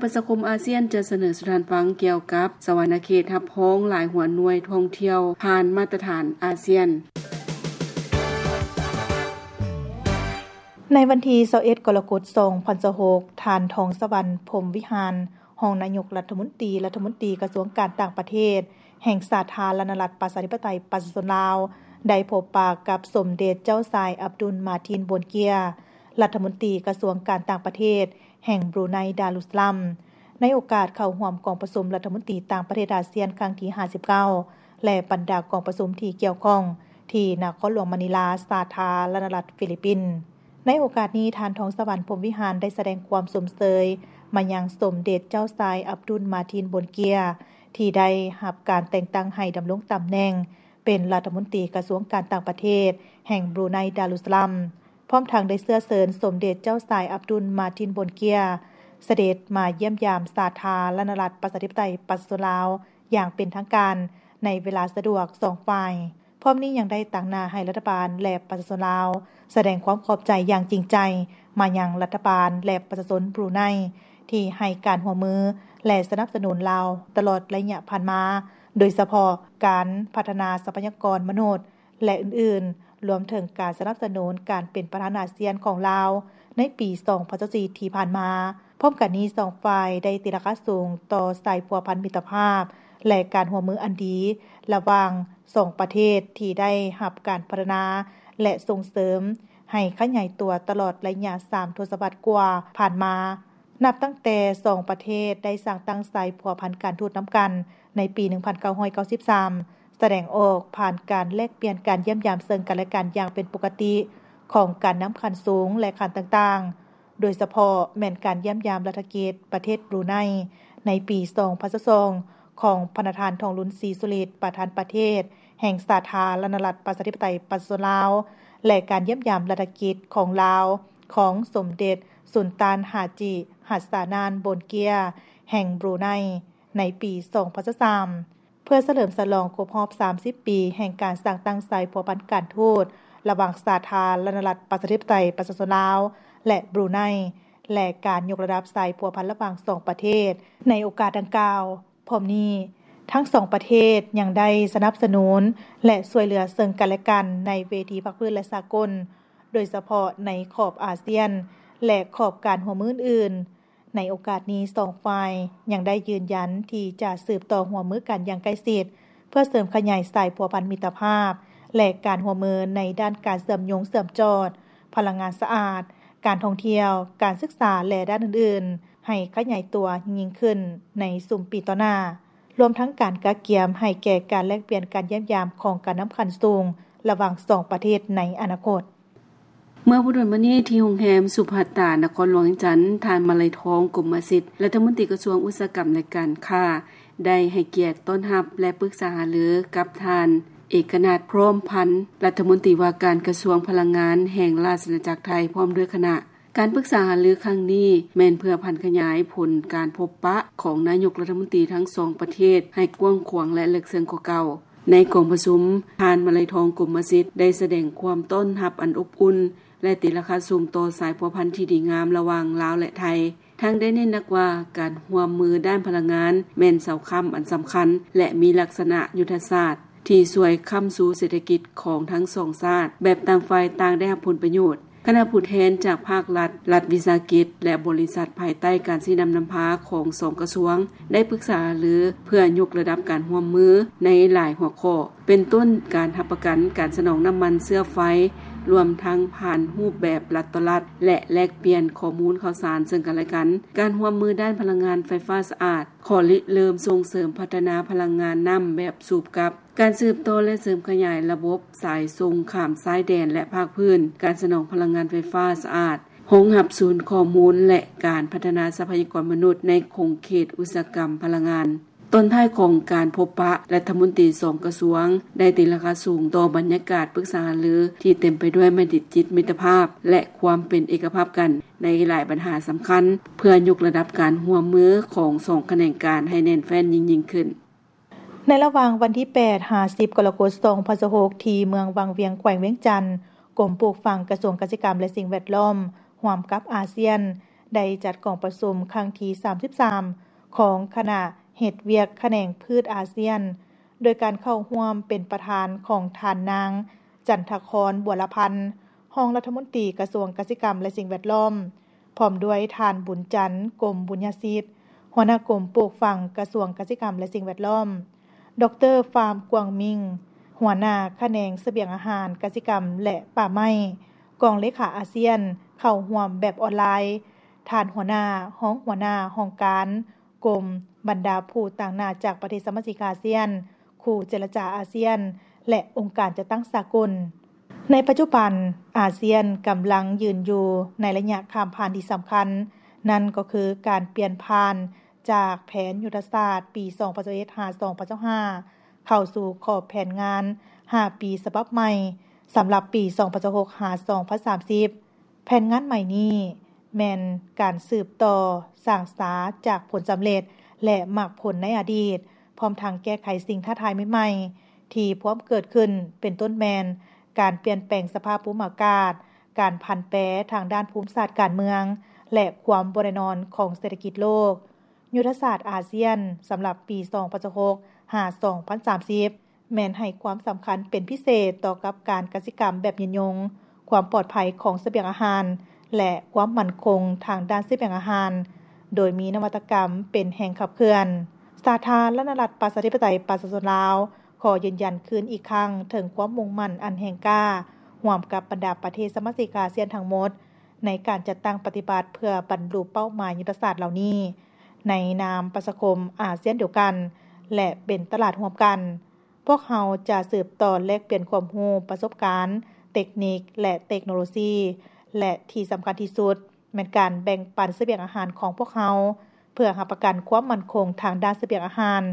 ປະຊາຄົມອາຊຽນຈະສະເໜີສູ່ທ່ານຟັງກ່ຽວກັບສະຫວັນນະເຂດຮັບຮອງຫຼາຍຫົວໜ່ວຍທ່ອງທ່ຽວຜ່ານມາດຕະຖານອາຊຽນ. ໃນວັນທີຊາວເອັດ ກໍລະກົດ ສອງພັນຊາວຫົກ, ທ່ານ ທອງສະຫວັນ ພົມວິຫານ ຮອງນາຍົກລັດຖະມົນຕີ, ລັດຖະມົນຕີກະຊວງການຕ່າງປະເທດແຫ່ງສາທາລະນະລັດ ປະຊາທິປະໄຕ ປະຊາຊົນລາວ ໄດ້ພົບປະກັບສົມເດັດເຈົ້າຊາຍ ອັບດຸນ ມາທີນ ບົນເກຍ ລັດຖະມົນຕີກະຊວງການຕ່າງປະເທດແຫ່ງບຣູໄນ ດາລຸດສະລາມ ໃນໂອກາດເຂົ້າຮ່ວມກອງປະຊຸມລັດຖະມົນຕີຕ່າງປະເທດອາຊຽນຄັ້ງທີຫ້າສິບເກົ້າ ແລະ ບັນດາກອງປະຊຸມທີ່ກ່ຽວຂ້ອງ ທີ່ນະຄອນຫຼວງມະນີລາ ສາທາລະນະລັດຟີລິບປິນ. ໃນໂອກາດນີ້, ທ່ານ ທອງສະຫວັນ ພົມວິຫານ ໄດ້ສະແດງຄວາມຊົມເຊີຍມາຍັງສົມເດັດເຈົ້າຊາຍ ອັບດຸນ ມາທີນ ບົນເກຍ ທີ່ໄດ້ຮັບການແຕ່ງຕັ້ງໃຫ້ດຳລົງຕຳແໜ່ງເປັນລັດຖະມົນຕີກະຊວງການຕ່າງປະເທດແຫ່ງບຣູໄນ ດາລຸດສະລາມ, ພ້ອມທັງໄດ້ເຊື້ອເຊີນສົມເດັດເຈົ້າຊາຍ ອັບດຸນ ມາທີນ ບົນເກຍ ສະເດັດມາຢ້ຽມຢາມສາທາລະນະລັດ ປະຊາທິປະໄຕ ປະຊາຊົນລາວ ຢ່າງເປັນທາງການໃນເວລາສະດວກສອງຝ່າຍ. ພ້ອມນີ້ຍັງໄດ້ຕາງໜ້າໃຫ້ລັດຖະບານ ແລະ ປະຊາຊົນລາວ ສະແດງຄວາມຂອບໃຈຢ່າງຈິງໃຈມາຍັງລັດຖະບານ ແລະ ປະຊາຊົນບຣູໄນ ທີ່ໃຫ້ການຮ່ວມມື ແລະ ສະໜັບສະໜູນລາວຕະຫຼອດໄລຍະຜ່ານມາ, ໂດຍສະເພາະການພັດທະນາຊັບພະຍາກອນມະນຸດ ແລະ ອື່ນໆ, ລວມເຖິງການສະໜັບສະໜູນການເປັນປະທານອາຊຽນຂອງລາວໃນປີສອງພັນຊາວສີ່ທີ່ຜ່ານມາ. ພ້ອມກັນນີ້, ສອງຝ່າຍໄດ້ຕີລາຄາສູງຕໍ່ສາຍພົວພັນມິດຕະພາບ ແລະ ການຮ່ວມມືອັນດີລະຫວ່າງ ສອງປະເທດທີ່ໄດ້ຮັບການພັດທະນາ ແລະ ສົ່ງເສີມໃຫ້ຂະຫຍາຍຕົວຕະຫຼອດໄລຍະສາມທົດສະວັດກວ່າຜ່ານມາ, ນັບຕັ້ງແຕ່ສອງປະເທດໄດ້ສ້າງຕັ້ງສາຍພົວພັນການທູດນຳກັນໃນປີໜຶ່ງພັນເກົ້າຮ້ອຍເກົ້າສິບສາມ ສະແດງອອກຜ່ານການແລກປ່ຽນການຢ້ຽມຢາມເຊິ່ງກັນແລະກັນຢ່າງເປັນປົກກະຕິຂອງການນຳຂັ້ນສູງ ແລະ ຂັ້ນຕ່າງໆ. ໂດຍສະເພາະແມ່ນການຢ້ຽມຢາມລັດຖະກິດປະເທດບຣູໄນໃນປີສອງພັນຊາວສອງ ຂອງພະນະທ່ານ ທອງລຸນ ສີສຸລິດ ປະທານປະເທດແຫ່ງສາທາລະນະລັດ ປະຊາທິປະໄຕ ປະຊາຊົນລາວ ແລະ ການຢ້ຽມຢາມລັດຖະກິດຂອງລາວຂອງສົມເດັດສຸນຕານ ຮາຈິ ຮັດສານານ ໂບນເກຍ ແຫ່ງບຣູໄນໃນປີສອງພັນຊາວສາມ ເພື່ອສະເຫຼີມສະຫຼອງຄົບຮອບສາມສິບປີແຫ່ງການສ້າງຕັ້ງສາຍພົວພັນການທູດລະຫວ່າງສາທາລະນະລັດ ປະຊາທິປະໄຕ ປະຊາຊົນລາວ ແລະ ບຣູໄນ ແລະ ການຍົກລະດັບສາຍພົວພັນລະຫວ່າງສອງປະເທດໃນໂອກາດດັ່ງກ່າວ. ພ້ອມນີ້, ທັງສອງປະເທດຍັງໄດ້ສະໜັບສະໜູນ ແລະ ຊ່ວຍເຫຼືອເຊິ່ງກັນແລະກັນໃນເວທີພາກພື້ນ ແລະ ສາກົນ, ໂດຍສະເພາະໃນຂອບອາຊຽນ ແລະ ຂອບການຮ່ວມມືອື່ນໆ. ໃນໂອກາດນີ້, ສອງຝ່າຍຍັງໄດ້ຢືນຢັນທີ່ຈະສືບຕໍ່ຮ່ວມມືກັນຢ່າງໃກ້ຊິດ ເພື່ອເສີມຂະຫຍາຍສາຍພົວພັນມິດຕະພາບ ແລະ ການຮ່ວມມືໃນດ້ານການເຊື່ອມໂຍງເຊື່ອມຈອດ, ພະລັງງານສະອາດ, ການທ່ອງທ່ຽວ, ການສຶກສາ ແລະ ດ້ານອື່ນໆ ໃຫ້ຂະຫຍາຍຕົວຍິ່ງຂຶ້ນໃນຊຸມປີຕໍ່ໜ້າ, ລວມທັງການກະກຽມໃຫ້ແກ່ການແລກປ່ຽນການຢ້ຽມຢາມຂອງການນຳຂັ້ນສູງລະຫວ່າງສອງປະເທດໃນອະນາຄົດ. ເມື່ອບໍ່ດົນມານີ້ ທີ່ໂຮງແຮມສຸພັດຕາ ນະຄອນຫຼວງວຽງຈັນ, ທ່ານ ມາໄລທອງ ກົມມະສິດ ລັດຖະມົນຕີກະຊວງອຸດສາຫະກຳ ແລະ ການຄ້າ ໄດ້ໃຫ້ກຽດຕ້ອນຮັບ ແລະ ປຶກສາຫາລືກັບທ່ານ ເອກະນາດ ພ້ອມພັນ ລັດຖະມົນຕີວ່າການກະຊວງພະລັງງານແຫ່ງລາຊະອານາຈັກໄທ ພ້ອມດ້ວຍຄະນະ. ການປຶກສາຫາລືຄັ້ງນີ້ແມ່ນເພື່ອຜັນຂະຫຍາຍຜົນການພົບປະຂອງນາຍົກລັດຖະມົນຕີທັງສອງປະເທດໃຫ້ກວ້າງຂວາງ ແລະ ເລິກເຊິ່ງກວ່າເກົ່າ. ໃນກອງປະຊຸມ, ທ່ານ ມາໄລທອງ ກົມມະສິດ ໄດ້ສະແດງຄວາມຕ້ອນຮັບອັນອົບອຸ່ນ ແລະ ຕີລາຄາສູງຕໍ່ສາຍພົວພັນທີ່ດີງາມລະຫວ່າງລາວ ແລະ ໄທ, ທັງໄດ້ເນັ້ນໜັກວ່າການຮ່ວມມືດ້ານພະລັງງານແມ່ນເສົາຄ້ຳອັນສຳຄັນ ແລະ ມີລັກສະນະຍຸດທະສາດທີ່ຊ່ວຍຄ້ຳຊູເສດຖະກິດຂອງທັງສອງຊາດ ແບບຕ່າງຝ່າຍຕ່າງໄດ້ຮັບຜົນປະໂຫຍດ. ຄະນະຜູ້ແທນຈາກພາກລັດ, ລັດວິສາຫະກິດ ແລະ ບໍລິສັດພາຍໃຕ້ການຊີ້ນຳນຳພາຂອງສອງກະຊວງ ໄດ້ປຶກສາຫາລືເພື່ອຍົກລະດັບການຮ່ວມມືໃນຫຼາຍຫົວຂໍ້ ເປັນຕົ້ນການຮັບປະກັນການສະໜອງນ້ຳມັນເຊື້ອໄຟ, ລວມທັງຜ່ານຮູບແບບລັດຕໍ່ລັດ ແລະ ແລກປ່ຽນຂໍ້ມູນຂ່າວສານເຊິ່ງກັນແລະກັນ, ການຮ່ວມມືດ້ານພະລັງງານໄຟຟ້າສະອາດ, ຂໍ້ລິເລີ່ມສົ່ງເສີມພັດທະນາພະລັງງານນ້ຳແບບສູບກັບ, ການສືບຕໍ່ ແລະ ເສີມຂະຫຍາຍລະບົບສາຍສົ່ງຂ້າມຊາຍແດນ ແລະ ພາກພື້ນ, ການສະໜອງພະລັງງານໄຟຟ້າສະອາດ, ຮອງຮັບສູນຂໍ້ມູນ ແລະ ການພັດທະນາຊັບພະຍາກອນມະນຸດໃນຂົງເຂດອຸດສາຫະກຳພະລັງງານ. ຕອນທ້າຍຂອງການພົບປະ, ລັດຖະມົນຕີສອງກະຊວງໄດ້ຕີລາຄາສູງຕໍ່ບັນຍາກາດປຶກສາຫາລືທີ່ເຕັມໄປດ້ວຍມະຕິຈິດມິດຕະພາບ ແລະ ຄວາມເປັນເອກະພາບກັນໃນຫຼາຍບັນຫາສຳຄັນ ເພື່ອຍົກລະດັບການຮ່ວມມືຂອງສອງຂະແໜງການໃຫ້ແໜ້ນແຟ້ນຍິ່ງໆຂຶ້ນ. ໃນລະຫວ່າງວັນທີແປດ ຫາ ສິບ ກໍລະກົດ ສອງພັນຊາວຫົກ ທີ່ເມືອງວັງວຽງ ແຂວງວຽງຈັນ, ກົມປູກຝັງ ກະຊວງກະສິກຳ ແລະ ສິ່ງແວດລ້ອມ ຮ່ວມກັບອາຊຽນ ໄດ້ຈັດກອງປະຊຸມຄັ້ງທີສາມສິບສາມ ຂອງຄະນະເຮັດວຽກຂະແໜງພືດອາຊຽນ ໂດຍການເຂົ້າຮ່ວມເປັນປະທານຂອງທ່ານນາງ ຈັນທະຄອນ ບົວລະພັນ ຮອງລັດຖະມົນຕີກະຊວງກະສິກຳ ແລະ ສິ່ງແວດລ້ອມ, ພ້ອມດ້ວຍທ່ານ ບຸນຈັນ ກົມບຸນຍະສິດ ຫົວໜ້າກົມປູກຝັງ ກະຊວງກະສິກຳ ແລະ ສິ່ງແວດລ້ອມ, ດອກເຕີ ຟາມ ກວາງມິງ ຫົວໜ້າຂະແໜງສະບຽງອາຫານ, ກະສິກຳ ແລະ ປ່າໄມ້ ກອງເລຂາອາຊຽນ ເຂົ້າຮ່ວມແບບອອນລາຍ, ທ່ານຫົວໜ້າ, ຮອງຫົວໜ້າຫ້ອງການ, ກົມ, ບັນດາຜູ້ຕາງໜ້າຈາກປະເທດສະມາຊິກອາຊຽນ, ຄູ່ເຈລະຈາອາຊຽນ ແລະ ອົງການຈັດຕັ້ງສາກົນ. ໃນປັດຈຸບັນ, ອາຊຽນກຳລັງຢືນຢູ່ໃນໄລຍະຂ້າມຜ່ານທີ່ສຳຄັນ, ນັ້ນກໍຄືການປ່ຽນຜ່ານຈາກແຜນຍຸດທະສາດປີສອງພັນຊາວເອັດ ຫາ ສອງພັນຊາວຫ້າ ເຂົ້າສູ່ຂອບແຜນງານຫ້າປີສະບັບໃໝ່ ສຳລັບປີສອງພັນຊາວຫົກ ຫາ ສອງພັນສາມສິບ. ແຜນງານໃໝ່ນີ້ແມ່ນການສືບຕໍ່ສ້າງສາຈາກຜົນສຳເລັດ ແລະ ໝາກຜົນໃນອະດີດ, ພ້ອມທັງແກ້ໄຂສິ່ງທ້າທາຍໃໝ່ໆທີ່ພວມເກີດຂຶ້ນ, ເປັນຕົ້ນແມ່ນການປ່ຽນແປງສະພາບພູມອາກາດ, ການຜັນແປທາງດ້ານພູມສາດການເມືອງ ແລະ ຄວາມບໍ່ແນ່ນອນຂອງເສດຖະກິດໂລກ. ຍຸດທະສາດອາຊຽນສຳລັບປີສອງພັນຊາວຫົກ ຫາ ສອງພັນສາມສິບ ແມ່ນໃຫ້ຄວາມສຳຄັນເປັນພິເສດຕໍ່ກັບການກະສິກຳແບບຍືນຍົງ, ຄວາມປອດໄພຂອງສະບຽງອາຫານ ແລະ ຄວາມໝັ້ນຄົງທາງດ້ານສະບຽງອາຫານ, ໂດຍມີນະວັດຕະກຳເປັນແຮງຂັບເຄື່ອນ. ສາທາລະນະລັດ ປະຊາທິປະໄຕ ປະຊາຊົນລາວ ຂໍຢືນຢັນຄືນອີກຄັ້ງເຖິງຄວາມມຸ່ງໝັ້ນອັນແຮງກ້າ ຮ່ວມກັບບັນດາປະເທດສະມາຊິກອາຊຽນທັງໝົດ ໃນການຈັດຕັ້ງປະຕິບັດເພື່ອບັນລຸເປົ້າໝາຍຍຸດທະສາດເຫຼົ່ານີ້ ໃນນາມປະຊາຄົມອາຊຽນດຽວກັນ ແລະ ເປັນຕະຫຼາດຮ່ວມກັນ. ພວກເຮົາຈະສືບຕໍ່ແລກປ່ຽນຄວາມຮູ້, ປະສົບການ, ເຕັກນິກ ແລະ ເຕັກໂນໂລຊີ ແລະ ທີ່ສຳຄັນທີ່ສຸດ ແມ່ນການແບ່ງປັນສະບຽງອາຫານຂອງພວກເຮົາ ເພື່ອຮັບປະກັນຄວາມໝັ້ນຄົງທາງດ້ານສະບຽງອາຫານ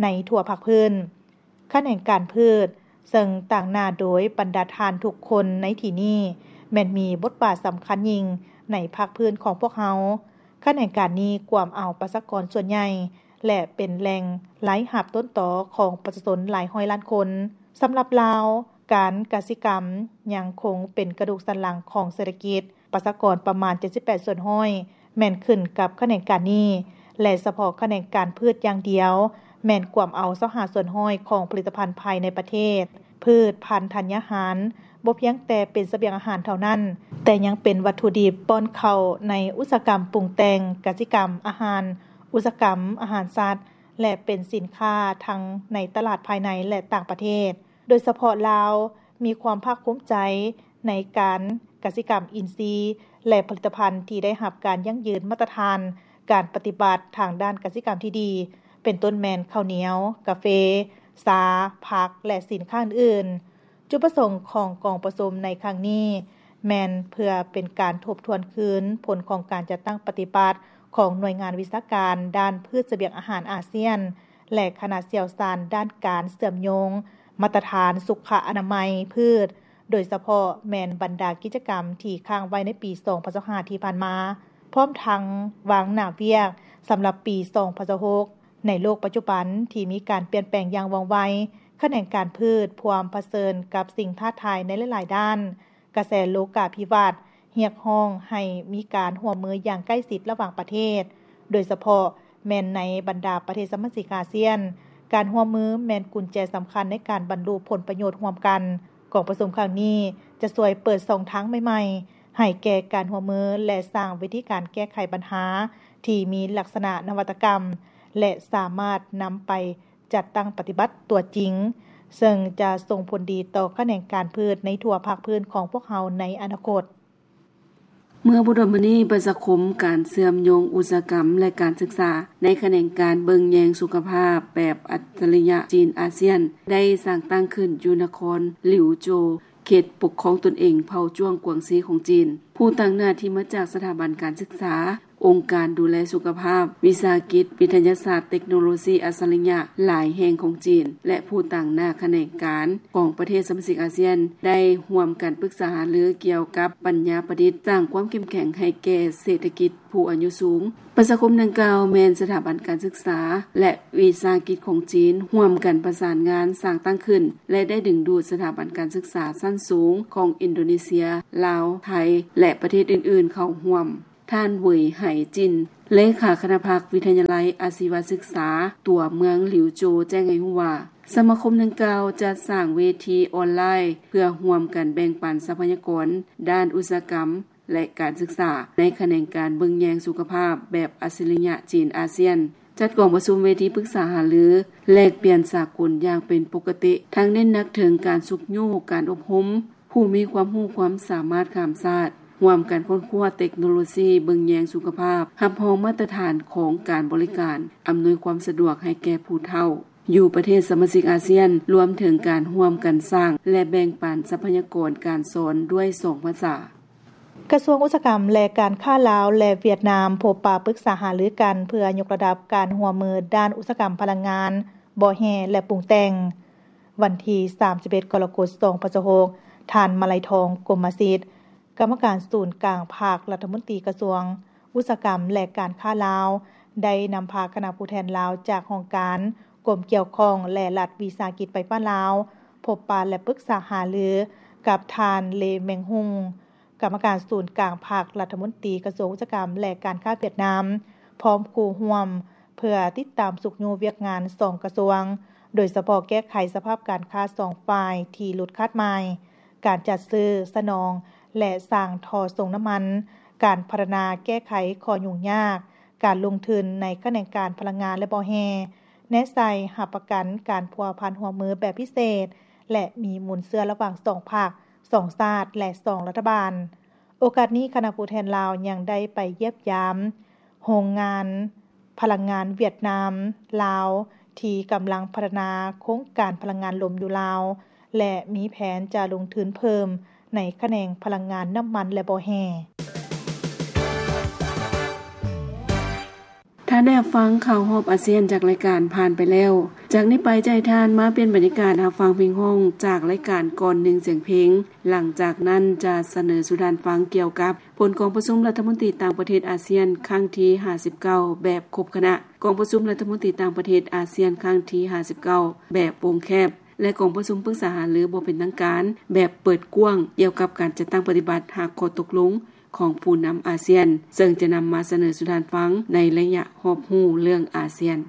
ໃນທົ່ວພາກພື້ນ. ຂະແໜງການພືດ, ເຊິ່ງຕາງໜ້າໂດຍບັນດາທ່ານທຸກຄົນໃນທີ່ນີ້ ແມ່ນມີບົດບາດສຳຄັນຍິ່ງໃນພາກພື້ນຂອງພວກເຮົາ. ຂະແໜງການນີ້ກວມເອົາປະຊາກອນສ່ວນໃຫຍ່ ແລະ ເປັນແຫຼ່ງລາຍຮັບຕົ້ນຕໍຂອງປະຊາຊົນຫຼາຍຮ້ອຍລ້ານຄົນ. ສຳລັບລາວ, ການກະສິກຳຍັງຄົງເປັນກະດູກສັນຫຼັງຂອງເສດຖະກິດ, ປະຊາກອນປະມານເຈັດສິບແປດສ່ວນຮ້ອຍ ແມ່ນຂຶ້ນກັບຂະແໜງການນີ້ ແລະ ສະເພາະຂະແໜງການພືດຢ່າງດຽວ ແມ່ນກວມເອົາຊາວຫ້າສ່ວນຮ້ອຍຂອງຜະລິດຕະພັນພາຍໃນປະເທດ. ພືດພັນທັນຍາຫານບໍ່ພຽງແຕ່ເປັນສະບຽງອາຫານເທົ່ານັ້ນ, ແຕ່ຍັງເປັນວັດຖຸດິບປ້ອນເຂົ້າໃນອຸດສາຫະກຳປຸງແຕ່ງ, ກະສິກຳອາຫານ, ອຸດສາຫະກຳອາຫານສັດ ແລະ ເປັນສິນຄ້າທັງໃນຕະຫຼາດພາຍໃນ ແລະ ຕ່າງປະເທດ. ໂດຍສະເພາະລາວມີຄວາມພາກພູມໃຈໃນການກະສິກຳອິນຊີ ແລະ ຜະລິດຕະພັນທີ່ໄດ້ຮັບການຢັ້ງຢືນມາດຕະຖານການປະຕິບັດທາງດ້ານກະສິກຳທີ່ດີ, ເປັນຕົ້ນແມ່ນເຂົ້າໜຽວ, ກາເຟ, ຊາ, ຜັກ ແລະ ສິນຄ້າອື່ນໆ. ຈຸດປະສົງຂອງກອງປະຊຸມໃນຄັ້ງນີ້ ແມ່ນເພື່ອເປັນການທົບທວນຄືນຜົນຂອງການຈັດຕັ້ງປະຕິບັດຂອງໜ່ວຍງານວິຊາການດ້ານພືດສະບຽງອາຫານອາຊຽນ ແລະ ຄະນະຊ່ຽວຊານດ້ານການເຊື່ອມໂຍງມາດຕະຖານສຸຂະອະນາໄມພືດ, ໂດຍສະເພາະແມ່ນບັນດາກິດຈະກຳທີ່ຄ້າງໄວ້ໃນປີສອງພັນຊາວຫ້າທີ່ຜ່ານມາ, ພ້ອມທັງວາງໜ້າວຽກສຳລັບປີສອງພັນຊາວຫົກ. ໃນໂລກປັດຈຸບັນທີ່ມີການປ່ຽນແປງຢ່າງວ່ອງໄວ, ຂະແໜງການພືດພວມປະເຊີນກັບສິ່ງທ້າທາຍໃນຫຼາຍໆດ້ານ. ກະແສໂລກາພິວັດຮຽກຮ້ອງໃຫ້ມີການຮ່ວມມືຢ່າງໃກ້ຊິດລະຫວ່າງປະເທດ, ໂດຍສະເພາະແມ່ນໃນບັນດາປະເທດສະມາຊິກອາຊຽນ. ການຮ່ວມມືແມ່ນກຸນແຈສຳຄັນໃນການບັນລຸຜົນປະໂຫຍດຮ່ວມກັນ. ກອງປະຊຸມຄັ້ງນີ້ຈະຊ່ວຍເປີດຊ່ອງທາງໃໝ່ໆໃຫ້ແກ່ການຮ່ວມມື ແລະ ສ້າງວິທີການແກ້ໄຂບັນຫາທີ່ມີລັກສະນະນະວັດຕະກຳ ແລະ ສາມາດນຳໄປ ຈັດຕັ້ງປະຕິບັດຕົວຈິງ, ເຊິ່ງຈະສົ່ງຜົນດີຕໍ່ຂະແໜງການພືດໃນທົ່ວພາກພື້ນຂອງພວກເຮົາໃນອະນາຄົດ. ເມື່ອບໍ່ດົນມານີ້, ປະຊາຄົມການເຊື່ອມໂຍງອຸດສາຫະກຳ ແລະ ການສຶກສາ ໃນຂະແໜງການເບິ່ງແຍງສຸຂະພາບແບບອັດສະລິຍະຈີນອາຊຽນ ໄດ້ສ້າງຕັ້ງຂຶ້ນຢູ່ນະຄອນຫຼິວໂຈວ, ເຂດປົກຄອງຕົນເອງເຜົ່າຈວງກວາງຊີຂອງຈີນ. ຜູ້ຕາງໜ້າທີ່ມາຈາກສະຖາບັນການສຶກສາ, ອົງການດູແລສຸຂະພາບ, ວິສາຫະກິດ, ວິທະຍາສາດ, ເຕັກໂນໂລຊີອັດສະລິຍະຫຼາຍແຫ່ງຂອງຈີນ ແລະ ຜູ້ຕາງໜ້າຂະແໜງການຂອງປະເທດສະມາຊິກອາຊຽນ ໄດ້ຮ່ວມກັນປຶກສາຫາລືກ່ຽວກັບປັນຍາປະດິດ, ສ້າງຄວາມເຂັ້ມແຂງໃຫ້ແກ່ເສດຖະກິດຜູ້ອາຍຸສູງ. ປະຊາຄົມດັ່ງກ່າວແມ່ນສະຖາບັນການສຶກສາ ແລະ ວິສາຫະກິດຂອງຈີນ ຮ່ວມກັນປະສານງານສ້າງຕັ້ງຂຶ້ນ ແລະ ໄດ້ດຶງດູດສະຖາບັນການສຶກສາຊັ້ນສູງຂອງອິນໂດເນເຊຍ, ລາວ, ໄທ ແລະ ປະເທດອື່ນໆເຂົ້າຮ່ວມ. ທ່ານ ເຫວີຍ ໄຫຈິນ ເລຂາຄະນະພັກວິທະຍາໄລອາຊີວະສຶກສາ ຕົວເມືອງຫຼິວໂຈ ແຈ້ງໃຫ້ຮູ້ວ່າ ສະມາຄົມດັ່ງກ່າວຈັດສ້າງເວທີອອນລາຍ ເພື່ອຮ່ວມກັນແບ່ງປັນຊັບພະຍາກອນດ້ານອຸດສາຫະກຳ ແລະ ການສຶກສາ ໃນຂະແໜງການເບິ່ງແຍງສຸຂະພາບແບບອັດສະລິຍະຈີນອາຊຽນ, ຈັດກອງປະຊຸມເວທີປຶກສາຫາລື ແລກປ່ຽນສາກົນຢ່າງເປັນປົກກະຕິ, ທັງເນັ້ນໜັກເຖິງການຊຸກຍູ້ການອົບຮົມ ຜູ້ມີຄວາມຮູ້ຄວາມສາມາດຂ້າມຊາດ, ຮ່ວມກັນຄົ້ນຄວ້າເຕັກໂນໂລຊີເບິ່ງແຍງສຸຂະພາບ, ຮັບຮອງມາດຕະຖານຂອງການບໍລິການ, ອຳນວຍຄວາມສະດວກໃຫ້ແກ່ຜູ້ເຖົ້າ ຢູ່ປະເທດສະມາຊິກອາຊຽນ, ລວມເຖິງການຮ່ວມກັນສ້າງ ແລະ ແບ່ງປັນຊັບພະຍາກອນການສອນດ້ວຍສອງພາສາ. ກະຊວງອຸດສາຫະກຳ ແລະ ການຄ້າລາວ ແລະ ຫວຽດນາມ ພົບປະປຶກສາຫາລືກັນ ເພື່ອຍົກລະດັບການຮ່ວມມືດ້ານອຸດສາຫະກຳພະລັງງານ, ບໍ່ແຮ່ ແລະ ປຸງແຕ່ງ. ວັນທີສາມສິບເອັດ ກໍລະກົດ ສອງພັນຊາວຫົກ, ທ່ານ ມາໄລທອງ ກົມມະສິດ, ກຳມະການສູນກາງພັກ, ລັດຖະມົນຕີກະຊວງອຸດສາຫະກຳ ແລະ ການຄ້າລາວ ໄດ້ນຳພາຄະນະຜູ້ແທນລາວຈາກຫ້ອງການ, ກົມກ່ຽວຂ້ອງ ແລະ ລັດວິສາຫະກິດໄຟຟ້າລາວ ພົບປະ ແລະ ປຶກສາຫາລືກັບທ່ານ ເລ ແມງຮຸງ ກຳມະການສູນກາງພັກ, ລັດຖະມົນຕີກະຊວງອຸດສາຫະກຳ ແລະ ການຄ້າຫວຽດນາມ ພ້ອມຄູ່ຮ່ວມ ເພື່ອຕິດຕາມຊຸກຍູ້ວຽກງານສອງກະຊວງ, ໂດຍສະເພາະແກ້ໄຂສະພາບການຄ້າສອງຝ່າຍທີ່ຫຼຸດຄາດໝາຍ, ການຈັດຊື້, ສະໜອງ ແລະ ສ້າງທໍ່ສົ່ງນ້ຳມັນ, ການພັດທະນາແກ້ໄຂຂໍ້ຫຍຸ້ງຍາກ, ການລົງທຶນໃນຂະແໜງການພະລັງງານ ແລະ ບໍ່ແຮ່, ແນໃສ່ຮັບປະກັນການພົວພັນຮ່ວມມືແບບພິເສດ ແລະ ມີມູນເຊື້ອລະຫວ່າງສອງພັກ, ສອງຊາດ ແລະ ສອງລັດຖະບານ. ໂອກາດນີ້, ຄະນະຜູ້ແທນລາວຍັງໄດ້ໄປຢ້ຽມຢາມໂຮງງານພະລັງງານຫວຽດນາມ ລາວ ທີ່ກຳລັງພັດທະນາໂຄງການພະລັງງານລົມຢູ່ລາວ ແລະ ມີແຜນຈະລົງທຶນເພີ່ມໃນຂະແໜງພະລັງງານນ້ຳມັນ ແລະ ບໍ່ແຮ່. ທ່ານໄດ້ຮັບຟັງຂ່າວຮອບອາຊຽນຈາກລາຍການຜ່ານໄປແລ້ວ. ຈາກນີ້ໄປຈະໃຫ້ທ່ານມາປ່ຽນບັນຍາກາດຮັບຟັງເພງຮ້ອງຈາກລາຍການກ່ອນໜຶ່ງສຽງເພງ. ຫຼັງຈາກນັ້ນຈະສະເໜີສູ່ທ່ານຟັງກ່ຽວກັບຜົນກອງປະຊຸມລັດຖະມົນຕີຕ່າງປະເທດອາຊຽນຄັ້ງທີຫ້າສິບເກົ້າແບບຄົບຄະນະ, ກອງປະຊຸມລັດຖະມົນຕີຕ່າງປະເທດອາຊຽນຄັ້ງທີຫ້າສິບເກົ້າແບບວົງແຄບ ແລະ ກອງປະຊຸມປຶກສາຫາລືບໍ່ເປັນທາງການແບບເປີດກວ້າງ ກ່ຽວກັບການຈັດຕັ້ງປະຕິບັດຫ້າຂໍ້ຕົກລົງຂອງຜູ້ນຳອາຊຽນ, ເຊິ່ງຈະນຳມາສະເໜີສູ່ທ່ານຟັງໃນໄລຍະຮອບຮູ້ເລື່ອງອາຊຽນ.